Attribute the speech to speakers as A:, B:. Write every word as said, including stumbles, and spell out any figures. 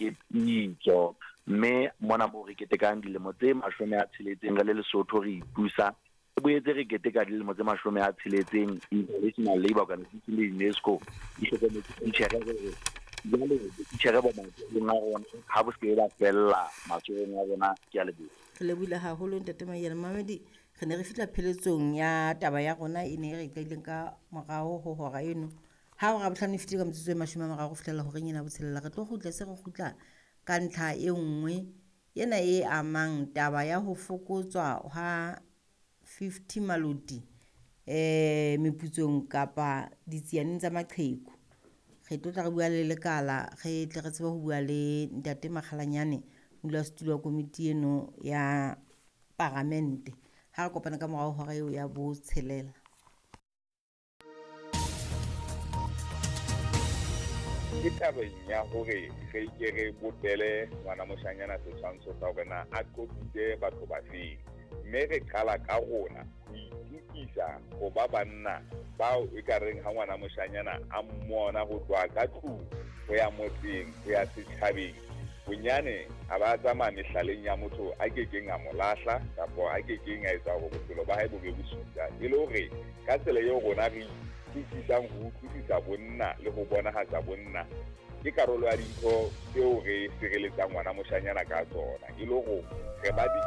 A: ke pitso. Mme mona moo re ketekang dilemo tse mashome a tsheletseng re le Lesotho re ipusa, re boetse re keteka dilemo tse mashome a tsheletseng International Labour Organization le UNESCO di hlokometse titjhere hore jwale titjhere bo matsohong a rona ha bo se ke ba fella matsohong a rona. Ke a leboha.
B: Re lebohile haholo ntate Maiyane. Mamedi, re ne re fihla pheletsong ya taba ya rona e ne e re qadileng ka morao ho hora eno. Ha hora bohlano e fetile ka metsotso e mashome a mararo ho fihlela horeng ena ya botshelela, re tlo kgutla se re kgutla ka ntlha e nngwe ena e amang taba ya ho fokotswa ha fifty maloti eh meputsong kapa ditsianeng tsa maqheku. Re tlo tla re bua le lekala, re tle re tsebe ho bua le ntate Makgalanyane, modulasetulo wa komiti eno ya paramente. Ha re kopana ka morao hora eo ya botshelela.
C: Ke tabeng ya hore re ke re bopele ngwana moshanyana setshwantsho sa hore na a qoqitse batho ba feng, mme re qala ka rona ho itukisa ho ba banna bao e ka reng ha ngwana moshanyana a mmona ho tloha ka tlung ho ya motseng ho ya setjhabeng, bonyane a ba tsamaya mehlaleng ya motho a kekeng a mo lahla kapa a kekeng a etsa hore bophelo ba hae bo be bosula. E le hore ka tsela eo rona re utlwisisang ho utlwisisa bonna le ho bonahatsa bonna ke karolo ya dintho tseo re sireletsang ngwana moshanyana ka tsona, e le hore re ba di